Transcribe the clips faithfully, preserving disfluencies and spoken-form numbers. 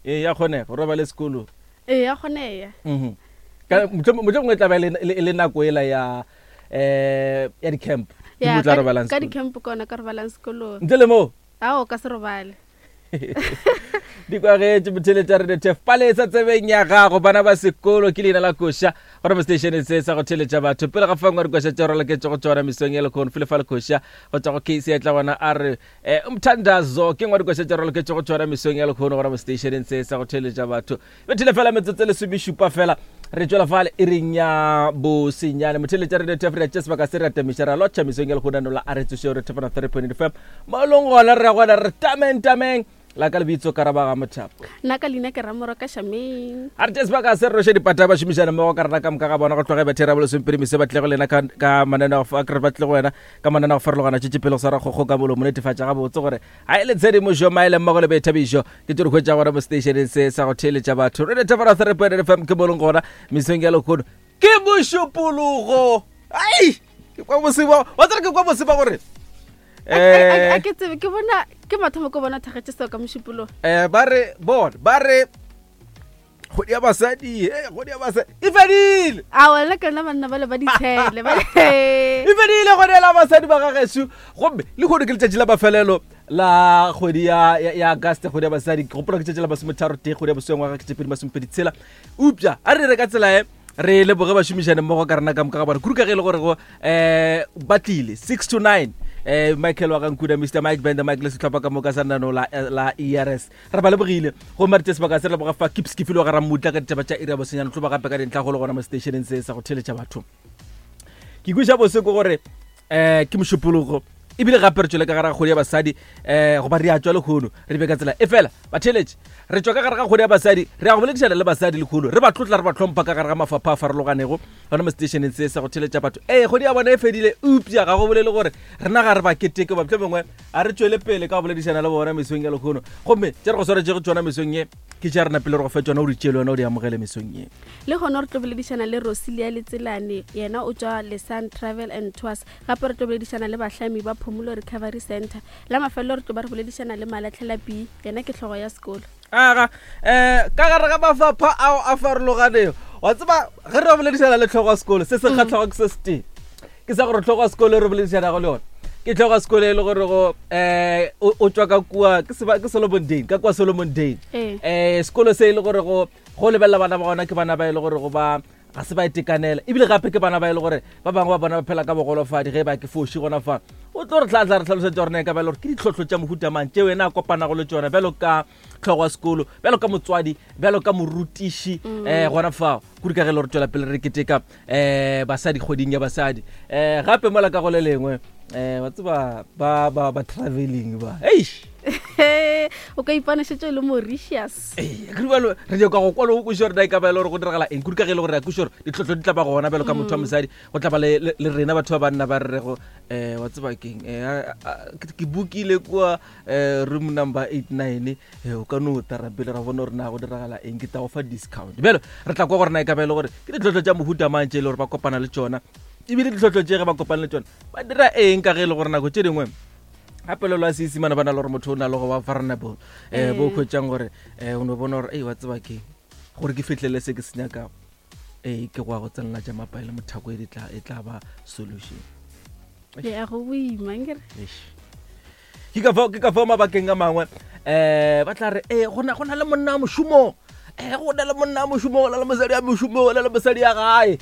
Ee, ya kgonega go robale sekolong. Ee, ya kgonega. Mhm. Ka mohlomongwe e tla ba e le- e le nako ela ya um ya di-camp. Ke Ya, mo tla ka di- robalang ka sekolong. di-camp ke ona ka robalang sekolong. Ntle le moo? Ao, o ka se robale. Di kwagetše motheletša Radio T F palesa tsebeng ya gago, bana ba sekolo ke leina la koša gore mo station se sa go theletša batho pele ga fangwa dikoša tše raloketše go tšona mesong ya lekgono file fa lekgoša go tšwa go K C ya tla bona a re eh, umthandazo ke ngwa dikoša tše raloketše go tšona mesong ya lekgono gore mo stationeng se sa go theletša batho bethile fela metsotso e lesomešupa fela re tšwela fale e reng ya bosenyane motheletša Radio T F re ya tše sebaka se re atamiša ra lotšha mesong ya lekgono ano la a re tsošeo re thefana three point eight F M mo e leng gona re ya gona re tameng tameng la ka lebitso Karabaga Mothapo. Nna ka leina ke Ramoroka Shameng. A re tše sebaka se re roše dipata ba šomišana mmogo ka rena ka moka ga bona go tloga bethera bolesomepedi mese ba tle go lena ka ka mananeo a kere ba tle go wena ka mananeo a go farologana tšetše pele go swara kgokgo ka molomo netefatša gabotse gore ga e le tshedimošo maele mmogo le boithabišo ke tše di hwetša gona mo stationeng se sa go theeletša batho re thefana three point eight F M ke mo leng gona mesong ya lekgono ke mošupologo. Ai, ke kwa boseba wa tsere ke kwa boseba gore A ke tsebe, ke bona ke mathomo ke bona thagetše seo ka mošupologo. Eh, ba re bona ba re kgwedi ya basadi, eh, kgwedi ya basadi e fedile. A wena ke lona banna ba le ba ditshele ba E fedile kgwedi la basadi ba gageso, gomme le kgono ke letšatši la mafelelo la kgwedi ya ya ya Auguste, kgwedi ya basadi. Ke gopola ke letšatši la masometharo tee kgwedi ya bosweng ngwaga ke tše pedi masomepedi tshela. Eupša a re re ka tsela e re leboge bašomišane mmogo ka rena ka moka ga bona kudu ka ge e le gore go um ba tlile six to nine, eh Michael wa gankuda, Mister Mike Bender Mike le setlhopha ka moka sa nano la, la E R S, re ba lebogile. Gomme re tše sebaka se re leboga fa Kips ke file wa ga Ramutla ka ditaba tša iri ya bosenyane tlo ba gape ka dintlha go le gona mo stationeng se sa go theletša batho. Ke kweša bose ke gore um ke mošupologo ebile gape re tšwele ka gare ga kgwedi ya basadi, um goba re a tšwa lekgono re be ka tsela e fela batheletše re tšwa ka gare ga kgwedi ya basadi, re ya go boledišana le basadi lekgono, re ba tlotla re ba tlhompha ka gare ga mafapha a farologanego gona mo stationeng se sa go theletša batho. Ee, kgwedi ya bona e fedile, eupša ga go bolele gore rena ga re ba keteke ba mohlomongwe a re tšwele pele ka go boledišana le bona mesong ya lekgono. Gomme tše re go swaretšego tšona mesong ye ke tša rena pele re go fe tšona o di tšee le wena o di amogele mesong ye. Le gona re tlo boledišana le Rosilia Letselane, yena o tšwa Lesan Travel and Tours. Gape re tlo boledišana le bahlami ba Phomolo Recovery Center. La mafelelo re tlo ba re boledišana le Malatlhela B, yena ke hlogo ya sekolo. Aga um ka gare ga mafapha ao a farologanego, wa tseba ge re boledišana le tlhogo ya sekolo se se kgatlhago ke se setee, ke sa gore tlhogo ya sekolo e re boledišanago le yona ke tlhogo ya sekolo e le gore go um o tšwa ka kua ke seba- ke Solomon Dane, ka kua Solomon Dane. Ee. um sekolo se e le gore go go lebelela bana ba gona ke bana ba e le gore go ba ga se ba itekanela, ebile gape ke bana ba e le gore ba bangwe ba bona ba phela ka bogolofadi. Ge ba ke foši gona fa o tlo re tla tla re tlhalosetsa gore na e ka ba e le gore ke ditlhohlo tša mohuta mang tšeo ena a kopanago le tšona bjalo ka tlhogo ya sekolo, bjalo ka motswadi, bjalo ka morutiši um gona fao kudu ka ge e le gore tswela pele re keteka um basadi kgweding ya basadi. um gape mola ka go le lengwe um wa tseba ba ba ba travelling ba eish. O ka ipona šetše o le Mauritius. Ee, ke bjalo re nyaka go kwa le go kweša gore na e ka ba e le gore go diragala eng kudu ka ge e le gore re a kweša gore ditlhohlo di tla ba gona bjalo ka motho wa mosadi, go tla ba le le- le rena batho ba banna ba re rego um wa tseba keng, um ke bookile kua um room number eight nine, o ka no tara pele ra bona gore na go diragala eng, ke tla go fa discount. Bjalo re tla kwa gore na e ka ba e le gore ke ditlhohlo tša mohuta mang tše e le gore ba kopana le tšona, ebile ditlhohlo tše ge ba kopana le tšona ba dira eng, ka ge e le gore nako tše dingwe gape lelo a Seesimane ba na le gore motho o na le go ba vulnerable, um bo kgwetsang gore um o no bona gore ei wa tseba keng gore ke fitlhelele se ke se nyakago, ee ke go ya go tsenela tša mapae le mothako e di tla e tla ba solution. Ya go boima nkere. Eish. ke ka fao ke ka fao mabakeng a mangwe um ba tla re ee go na go na le monna wa mošomong, um go na le monna wa mošomong, go na le mosadi ya mošomong, go na le mosadi ya gae,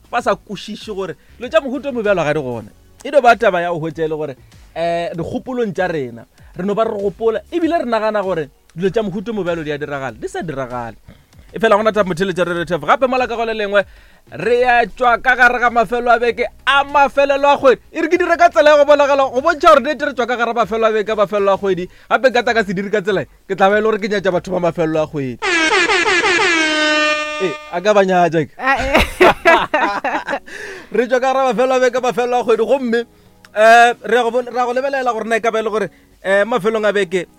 ba sa kwešiše gore dilo tša mohuta o mobjalo ga di gona. E no ba taba ya go hwetša e le gore um dikgopolong tša rena re no ba re gopola ebile re nagana gore dilo tša mohuta o mobjalo di a diragala, di sa diragale. E fela gona taba motheletša re retf gape mola ka go le lengwe re ya tšwa ka gare ga mafelo a beke a mafelelo a kgwedi. E re ke dire ka tsela ya go bonagala go bontšha gore nnete re tšwa ka gare ga mafelo a beke a mafelelo a kgwedi. Gape nka ta ka se dire ka tsela e, ke tla ba e le gore ke nyatša batho ba mafelelo a kgwedi. Ee, a ka ba nyatša ke. Ah, eh. Re tšwa ka gare ga mafelo a beke a mafelelo a kgwedi, gomme um re ya go bon- re ya go lebelela gore na e ka ba e le gore um mafelong a beke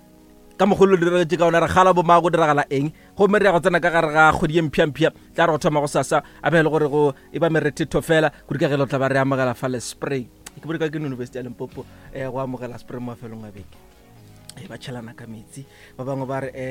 ka mogolo diragetše ka ona re gala bomang, go diragala eng, gomme re ya go tsena ka gare ga kgwedi ye mpšhampšha tla re go thoma go sasa a be e le gore go e ba merethetho fela kudu ka ge le tla ba re amogela fa le spring. Ke bone ka ke University ya Limpopo um go amogela spring mafelong a beke e ba tšhelana ka metsi, ba bangwe ba re um